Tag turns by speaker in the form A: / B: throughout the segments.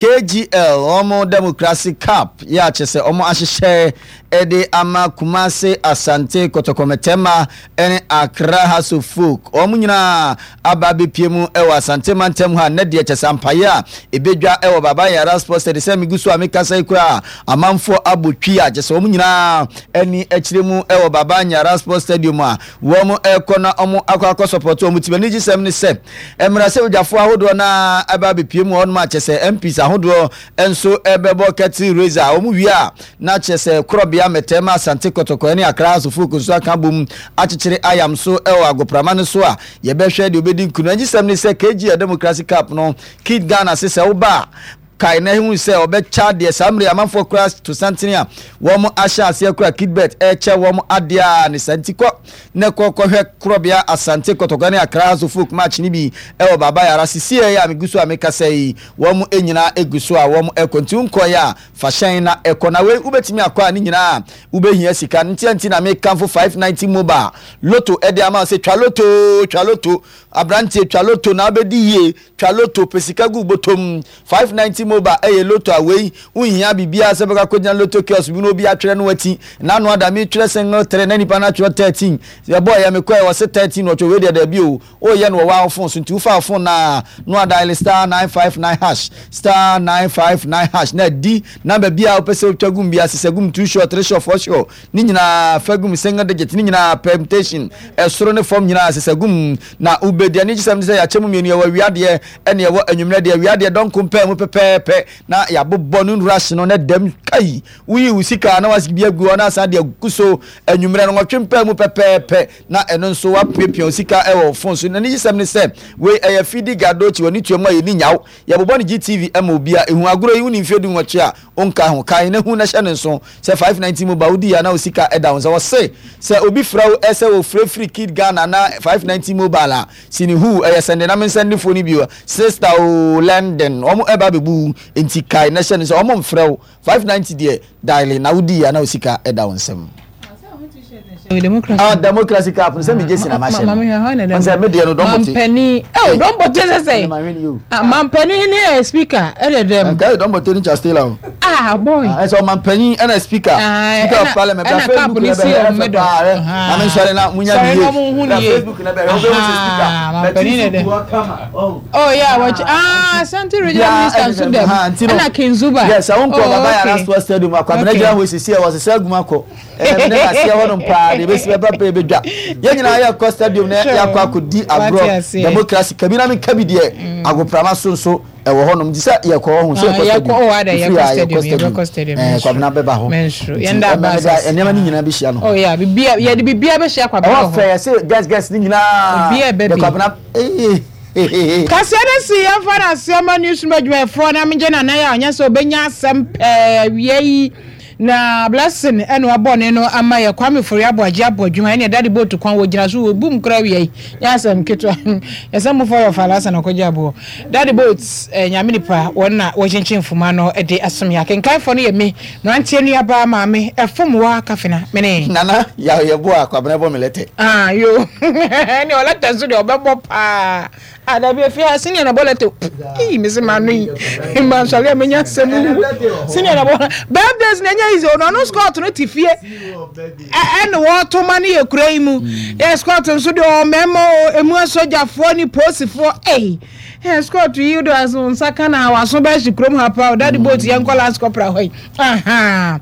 A: KGL wɔn Democracy Cup yɛ a kyerɛ sɛ wɔn ahyehyɛ de ama Kumasi Asante Kɔtɔkɔ Mɛtɛma ne Accra Hearts of Oak. Wɔn nyinaa aba abɛpie mu wɔ Asante mantam ha nnɛ deɛ kyerɛ sɛ ampaeɛ a ɛbɛdwa wɔ Baba Yara Sports Stadium sɛ megu so a mekasa yi koraa amanfoɔ abɔ twi a kyerɛ sɛ wɔn nyinaa ani akyire mu wɔ Baba Yara Sports Stadium a wɔn rekɔ na wɔn akɔ akɔ sɔpɔto wɔn tim. Anigyesɛm ne sɛ Mmarahyɛbadwafoɔ ahodoɔ no ara ɛba abɛpue mu wɔ hɔnom a kyerɛ sɛ MPs ahodoɔ nso ɛbɛbɔ curtain raiser a wɔn wie a na kyerɛ sɛ korɔbea Mɛtɛɛma Asante Kɔtɔkɔ ne Accra House of Folk nso aka abom akyekyere ayam so wɔ agoprama no so a yɛbɛhwɛ deɛ ɔbɛdi nkunim. Anigyesɛm ne sɛ KGL Democracy Cup no Kid Ghana se sɛ woba a kae na hu sɛ ɔbɛkyɛ adeɛ saa mmerɛ yi amanfoɔ koraa to santene a wɔn ahyɛ aseɛ koraa kidbet ɛrekyɛ wɔn adeɛ a ne saa nti kɔ na kɔ kɔhwɛ korɔbea Asante Kɔtɔkɔ ne Accra House of Folk match no bi ɛwɔ Baba Yara sisi ɛyɛ a megu so a mekasa yi wɔn nyinaa egu so a wɔn ɛkɔ nti wonkɔeɛ a fa hyɛn na ɛkɔ na wei wobɛtumi akɔ a ne nyinaa wobɛhia sika nti nti na mekamfo 590 mobile loto ɛde ama sɛ twa loto twa loto aberanteɛ twa loto na wobɛdi yie Twa lotto, pɛ sika gu wo bɔtɔ mu. 590 mobile ɛyɛ lotto a wei wonhia biribiara sɛ bɛkɔ akɔgyina lotto kiosk bi na obi atwerɛ no wati. N'ano ada metwerɛ single 3 na nipa no atwerɛ 13. Yɛbɔeɛ mekɔɛ wɔse 13 na ɔtwerɛ wei deɛ daabi o. Woyɛ no wɔ wo phone so nti wofa wo phone no a na wadial star 959 hash star 959 hash na adi number biara a wopɛ sɛ wotwa gum biara sesa gum 2 sure 3 sure 4 sure ne nyinaa fa gum single digit ne nyinaa permutation ɛsoro ne fam nyinaa sesa gum Na wobedi. Anigyesɛm ne sɛ yɛakyɛ mu mmienu, yɛwɔ awia deɛ ɛne yɛwɔ anwummerɛ deɛ. Awia deɛ dɔnko mpaa mu pɛpɛɛpɛ na yɛabobɔ no nwura hye no na dɛm kai. Woyi wo sika na wasi bi agu hɔ na asan de agu so. Anwummerɛ no nwɔtwe mpaa mu pɛpɛɛpɛ na ɛno nso woapiapia wo sika wɔ wo fon so. N'anigyesɛm ne sɛ wei ɛyɛ Fidi Gadochi, w'ani tua mu a yɛnni nyaw. Yɛbobɔ no GTV ma obiara. Ehu agorɔ yi, wonni mfeɛ dunwɔtwe a, wonka ho. Kae na hu na hyɛ no nso sɛ 590 mu ba wodi a na wo sika da wo nsa. Wɔse sɛ obi frɛ wo sɛ wɔfrɛ firi Kid Ghana anaa 590 mobile a, sini huu, ɛyɛ sɛnde na mensɛndefoɔ no bio. Sister oo, London, wɔn ɛba abɛbu wo, enti kae na hyɛ no sɛ wɔn mfrɛ wo. 590 deɛ, diale na wodi a na wo sika da wo nsam. Ah, democracy cup no sɛ megye si na mahyɛ no sɛ medeɛ no dɔmbɔte
B: mampanin eh dɔmbɔte sɛ sɛ mampanin ne eh, speaker ɛdɛ dɛm
A: nka yɛ dɔmbɔte ne chastela o
B: ah boy
A: ɛsɛ ɔmampanin ɛna speaker speaker of parliament bra facebook na bɛhwɛ ɛfɛ paa ɛ na me nsɔre na munya ne yie bra facebook na bɛhwɛ wobɛhu sɛ speaker
B: mampanin ne dɛ oh yeah wɔkyi ah asante regional minister nso dɛm ɛna kinzuba
A: yes ɛwo nkɔ baba yara sports stadium akwabena gyina hɔ sisi ɛ wɔsesɛ aguma kɔ Ɛnɛ me ne aseɛ hɔnom paa deɛ ɛbɛsi bɛba pɛ yɛbɛdwa. Yɛn nyinaa yɛkɔ stadium na yɛakɔ akɔdi agorɔ democracy kabi na menka bi deɛ mm. agoprama so nso ɛwɔ hɔnom nti sɛ yɛkɔ hɔ ho sɛ yɛkɔ stadium ɛfiri a yɛkɔ stadium ɛɛ kwabena bɛba hɔ nti nneɛma no nyinaa bɛhyia no
B: oh, yɛde biribiara bɛhyia kwabena
A: hɔ ɛwɔ fɛ yɛsɛ guest guest no nyinaa yɛ kwabena ee
B: Kaseɛ no si yɛmfa no aseɛ ma newsroom adwumayɛfoɔ na megye nana yɛ a ɔnyɛ sɛ ɔbɛnya asɛm pɛɛ awia yi Na Blessing ɛna wabɔ ne no ama yɛ Kwame Ofori Aboagye abɔ adwuma ɛne Daddy Boat kwan wɔ gyina so wɔ bum kora wia yi nyɛ asɛm ketewa yɛsɛ mo fɔ yɛ ɔfa lasa na ɔkɔgye aboɔ Daddy Boat eh, nyame nipa wɔn na wɔkyenkyen mfuma no de asom yɛ akenkanfoɔ no yɛ me mmeranteɛ nuabaa maame ɛfom wa kafena mene
A: Nana yaw yɛ boa Kwabena bɔ me lɛtɛ.
B: Ah yo ɛne ɔlɛtɛ nso deɛ ɔbɛbɔ paa. Ah dabi efi ha senior na bɔ lɛtɛ eyi mi se ma no yi ma nsɔre a menya asɛm wu senior na bɔ birthdays na enya easy ono ɔno scott no te fie ɛna wɔto ma no yɛ kura yi mu yɛ scott nso deɛ ɔmɛma o emu asogyafoɔ ne polisifoɔ ɛyi ɛ scott yi do aso nsa ka na waso bɛhye kurom ha paa o daddy boat yɛn kɔ lance corporal hɔ yi aha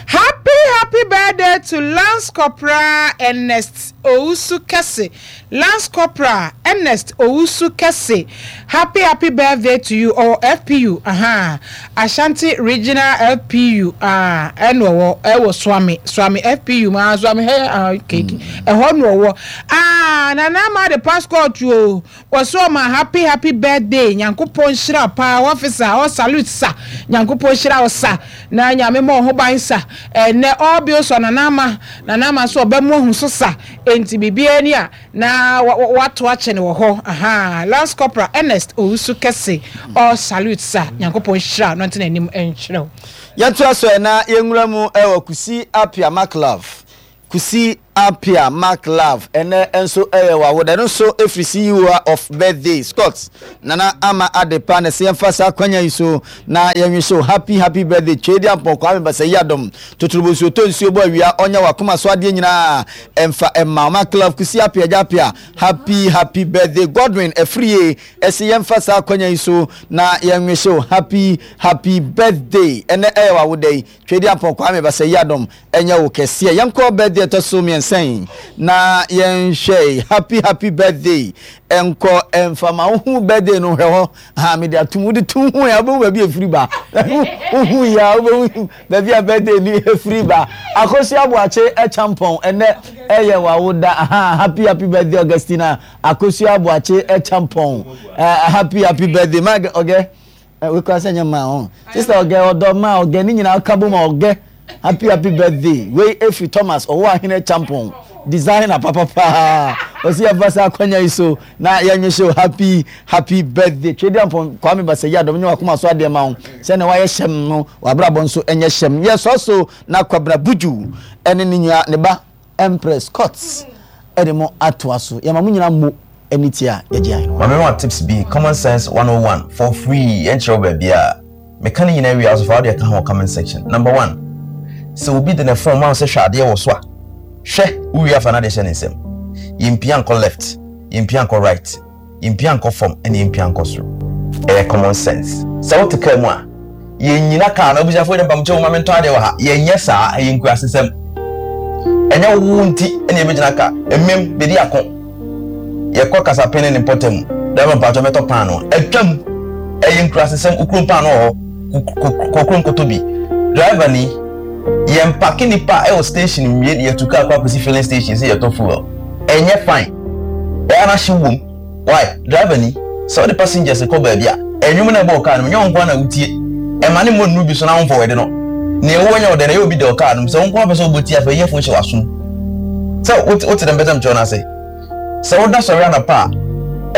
B: happy happy birthday to lance corporal Ernest Owusu Kɛse. Lance Corporal Ernest Owusu Kɛse happy happy birthday to you ɔwɔ FPU ahaa Ashanti regional FPU ah ɛna ɔwɔ ɛwɔ Suame Suame FPU mu ah Suame hɛ ah okay ɛhɔ na ɔwɔ ah Nana ama de passport o wɔsɛ ɔma happy happy birthday Nyankopɔn nhyira paa officer all salute sa Nyankopɔn nhyira wo sa na Nyame mɔ ho ban sa ɛnɛ all bills on Nana ama Nana ama so ɔbɛ mo ahu so sa Enti biribiara ni a na wɔato akyɛ no wɔ hɔ ahaa Lance Corporal Ernest Owusu Kɛse all salute sir Nyankopɔn nhyira no ntena anim nkyerɛ wo.
A: Yɛntoa so ɛ na yɛnwura mu wɔ Kusi Appiah Maclove Kusi. Appiah Mark Love ɛnɛ nso ɛyɛ w'awoda. Ɛno nso ɛfiri CEO of birthday Scott Nana Ama Adepa na ɛsɛ yɛmfa saa kwanya yi so na yɛnwihyɛ wo happy happy birthday Twedi Ampɔn Kwame Basayi Adom Totorobɔ nsuo tɔ nsuo bɔ awia ɔnyɛ w'akoma so adeɛ nyinaa ɛmfa ɛmma wo Mark Love Kusi Appiah Agya Appiah happy happy birthday Godwin Afriyie ɛsɛ yɛmfa saa kwanya yi so na yɛnwihyɛ wo happy happy birthday ɛnɛ ɛyɛ w'awoda yi Twedi Ampɔn Kwame Basayi Adom Ɛnyɛ wo kɛseɛ. Yɛnkɔ birthday ɛtɔ so mmiɛnsa yi na yɛnhwɛ happy happy birthday ɛnkɔ ɛmfa ma wohu birthday no hwɛ hɔ ha mede atum wode tum hu ya wobɛhu baabi ɛfiri ba wohu ya wobɛhu baabi a birthday ni ɛfiri ba Akosua Aboakye Ɛkyampɔn ɛnɛ ɛyɛ wawoda ha happy happy birthday Augustina Akosua Aboakye Ɛkyampɔn happy happy birthday ma ɔgɛ Wei koraa sɛ nyɛ mmaa ho. Sister ɔgɛ ɔdɔ mmaa ɔgɛ ne nyinaa ka bom ɔgɛ. Happy happy birthday. Wei efiri Thomas ɔwɔ ahene champon designer papapaa. Ɔsi yɛfa saa akwanya yi so na yɛnwe hyɛ happy happy birthday. Twedi ampɔn Kwame Basayi adɔm nyɛ wakoma so adeɛ ma wo. Sɛ na wayɛ hyɛm no wabrabɔ nso ɛnyɛ hyɛm. Yɛsɔ so na Kwabena Buju ɛne ne nua ne ba Empress Scott de mo atoa so. Yɛma mo nyinaa mo ani tie a yɛgye ahenewa.
C: Mame ma tips bi, common sense 101 for free, yɛnkyerɛ wo baabiaa. Meka ne nyinaa wie a, wo so fa wodeɛ ka ho wɔ comment section. Number one, sɛ obi de ne phone ma wo sɛ hwɛ adeɛ wɔ so a, hwɛ, wo wie a fa n'adeɛ hyɛ ne nsam. Yɛmpia nkɔ left, yɛmpia nkɔ right. Yɛmpia nkɔ fam ɛna yɛmpia nkɔ soro. Ɛyɛ common sense. Sɛ wote kaa mu a, yɛnnyina kaa no, abusuafoɔ deɛ mpamokyɛw momma mentɔ adeɛ wɔ ha. Yɛnyɛ saa, ɛyɛ nkurasesɛm. Ɛnyɛ wo nti na yɛbɛgyina kaa. Mmem, bɛdi ako. Yɛkɔ Kasapen ne ne mpɔtam mu, driver mpakyɛw mɛtɔ paanoo. Atwam! Ɛyɛ nkurasesɛm, wo kurom paanoo wɔ hɔ, kɔ kurom kɔtɔ bi. Driver ni, yɛmpake nnipa wɔ station nwie na yɛtu kaa kɔ akɔsi filling station sɛ yɛtɔ fuel. Ɛnyɛ fine. Ɛyɛ na hyew wom. Why? Driver ni, sɛ wode passengers kɔ baabi a, ɛnwom na ɛbɔ wɔ car no mu, nyɛ wo nko ara na wotie. Ɛma ne mmɔ nnuru bi so na womfa w'ade no. Nea ɛwɔ nyɛ wo dɛ na ɛyɛ obi dɛ wɔ car no mu. Sɛ wo nko ara pɛ sɛ wobɔ tie a, fa earphone hyɛ w'asom. Sɛ wote wote deɛ mepɛ sɛ mekyerɛ wo no ase? Sɛ woda sɔre anɔpa a,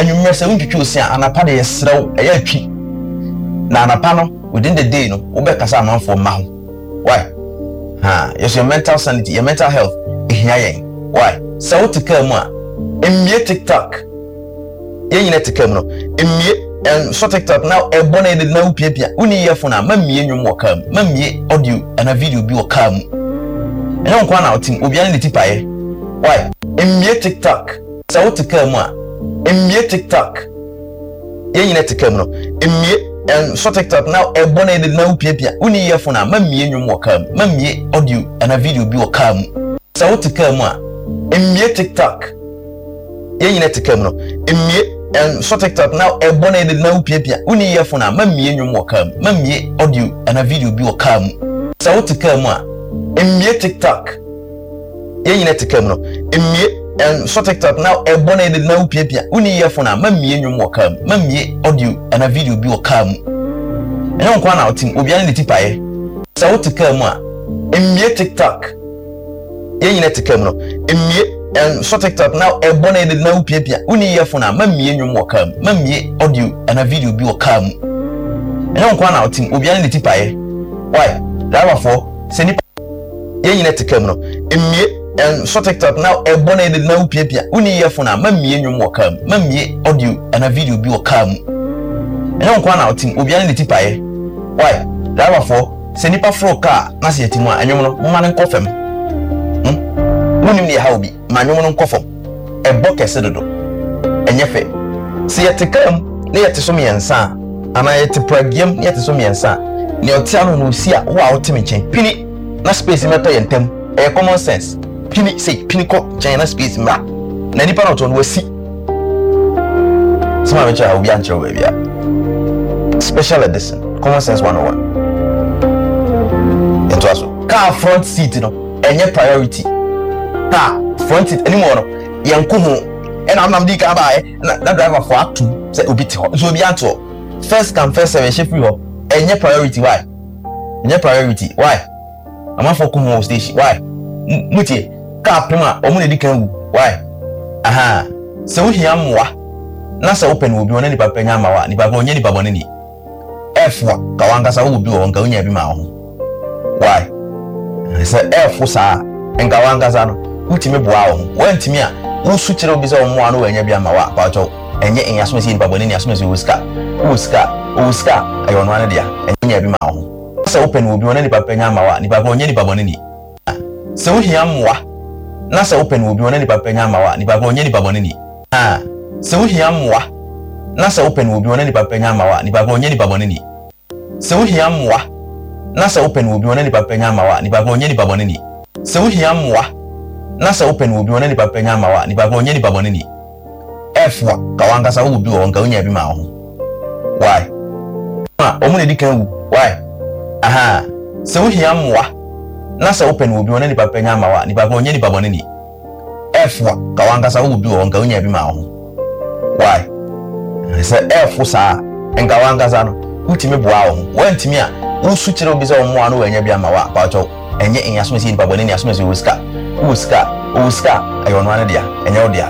C: anwummerɛ sɛ wontwitwi wo se a, anɔpa deɛ yɛsrɛ wo, ɛyɛ a twi. Na anɔpa no, within the day no, wobɛkasa amanfoɔ mma ho. Why? Ha, yɛso yɛ mental sanity, yɛ mental health ehia yɛn. Why? Sɛ wote kaa mu a, mmie TikTok. Yɛn nyinaa te kaa mu no, mmie nsɔ TikTok na ɛbɔ na yɛde na wopiapia. Wonni earphone a, ma mmie nnwom wɔ kaa mu. Ma mmie audio anaa video bi wɔ kaa mu. Ɛnyɛ wo nko ara na wote mu, obiara ne ne ti paeɛ. Why? Mmie TikTok. Sɛ wote kaa mu a, mmie TikTok. Yɛn nyinaa te kaa mu no, mmie nsɔ TikTok na ɛbɔ na yɛde na wopiapia. Wonni earphone a, ma mmie nnwom wɔ kaa mu. Ma mmie audio anaa video bi wɔ kaa mu. Sɛ wote kaa mu a, mmie TikTok. Yɛn nyinaa te kaa mu no, mmie nsɔ TikTok na ɛbɔ na yɛde na wopiapia. Wonni earphone a, ma mmie nnwom wɔ kaa mu. Ma mmie audio anaa video bi wɔ kaa mu. Sɛ wote kaa mu a, mmie TikTok. Yɛn nyinaa te kaa mu no, mmie nsɔ TikTok na ɛbɔ na yɛde na wopiapia. Wonni earphone a, ma mmie nnwom wɔ kaa mu. Ma mmie audio anaa video bi wɔ kaa mu. Ɛnyɛ wo nko ara na wote mu, obiara ne ne ti paeɛ. Sɛ wote kaa mu a, mmie TikTok. Yɛn nyinaa te kaa mu no, mmie nsɔ TikTok na ɛbɔ na yɛde na wopiapia. Wonni earphone a, ma mmie nnwom wɔ kaa mu. Ma mmie audio anaa video bi wɔ kaa mu. Ɛnyɛ wo nko ara na wote mu, obiara ne ne ti paeɛ. Why? Driverfoɔ, sɛ nnipa. Yɛn nyinaa te kaa mu no, mmie nsɔ TikTok na ɛbɔ na yɛde na wopiapia. Wonni earphone a, ma mmie nnwom wɔ kaa mu. Ma mmie audio anaa video bi wɔ kaa mu. Ɛnyɛ wo nko ara na wote mu, obiara ne ne ti paeɛ. Why? Driverfoɔ, sɛ nnipa foro kaa na sɛ yɛte mu a, nnwom no, momma no nkɔ fam. Hmm? Wonnim deɛ ɛha obi, ma nnwom no nkɔ fam. Ɛbɔ kɛse dodo. Ɛnyɛ fɛ. Sɛ yɛte kaa mu na yɛte so mmiɛnsa a, anaa yɛte pragea mu na yɛte so mmiɛnsa a, nea ɔte ano no ɔsi a, wo a wote me nkyɛn, pini na space mmɛtɔ yɛn ntam. Ɛyɛ common sense. Pini sei, pini kɔ nkyɛn na space mmra. Na nipa na ɔte hɔ no, wasi. Sɛ maame kyerɛ a, obi ankyerɛ wo baabi a. Special edition, common sense 101. Yɛntoa so. Car front seat no, ɛnyɛ priority. Car front seat anim hɔ no, yɛnko ho. Ɛna amnam di kan baeɛ, na na driver fo atom sɛ obi te hɔ. Nso obi ante hɔ. First come first serve, ɛhyɛ firi hɔ. Ɛnyɛ priority, why? Ɛnyɛ priority, why? Amanfoɔ ko ho wɔ station, why? Mutie, car pem a, wɔn na edi kan wu, why? Aha, sɛ wohia mmoa na sɛ wopɛ no wɔ bi hɔ na nipa pɛ nya ama wo a, nipa pɛ ɔnyɛ nipa bɔne ni. Ɛfo a, ka wankasa wowɔ bi wɔ hɔ, nka wonya bi ma wo ho. Why? Sɛ ɛfo saa a, nka wankasa no. Wotumi boa wo ho. Woantumi a, wosu kyerɛ obi sɛ ɔmmoa wo na wannya bi amma wo a, paatwɔw, ɛnyɛ ɛnyɛ asomasi yɛ nipa bɔne ni, asomasi ɔwɔ sika. Wowɔ sika a, ɔwɔ sika a, ɛyɛ ɔno ara ne dea. Ɛnyɛ nya bi ma wo ho. Sɛ wopɛ no wɔ obi hɔ na nipa pɛ nya ama wo a, nipa korɔ ɔnyɛ nipa bɔne ni. Sɛ wohia mmoa na sɛ wopɛ no wɔ obi hɔ na nipa pɛ nya ama wo a, nipa korɔ ɔnyɛ nipa bɔne ni. Sɛ wohia mmoa na sɛ wopɛ no wɔ obi hɔ na nipa pɛ nya ama wo a, nipa korɔ ɔnyɛ nipa bɔne ni. Sɛ wohia mmoa na sɛ wopɛ no wɔ obi hɔ na nipa pɛ nya ama wo a, nipa korɔ ɔnyɛ nipa bɔne ni. Sɛ wohia mmoa na sɛ wopɛ no wɔ obi hɔ na nipa pɛ nya ama wo a, nipa korɔ ɔnyɛ nipa bɔne ni. F a, ka w'ankasa wowɔ bi wɔ hɔ nka wonyaa bi maa wo ho. Why? A, wɔn na edi kan wu. Why? Ahaa. Sɛ wohia mmoa na sɛ wopɛ no wɔ obi hɔ na nipa pɛ nya ama wo a, nipa korɔ ɔnyɛ nipa bɔne ni. F a, ka w'ankasa wowɔ bi wɔ hɔ nka wonyaa bi maa wo ho. Why? Sɛ F saa a, nka w'ankasa no, wotumi boa wo ho. Woantumi a, wosu kyerɛ obi sɛ ɔmmoa no wannya bi amma wo a, paatwɔw, ɛnyɛ ɛnyɛ asomasi yɛ nipa bɔne ni, asomasi ɔwɔ sika. Wowɔ sika a, ɔwɔ sika a, ɛyɛ ɔno ara ne dea, ɛnyɛ wo dea.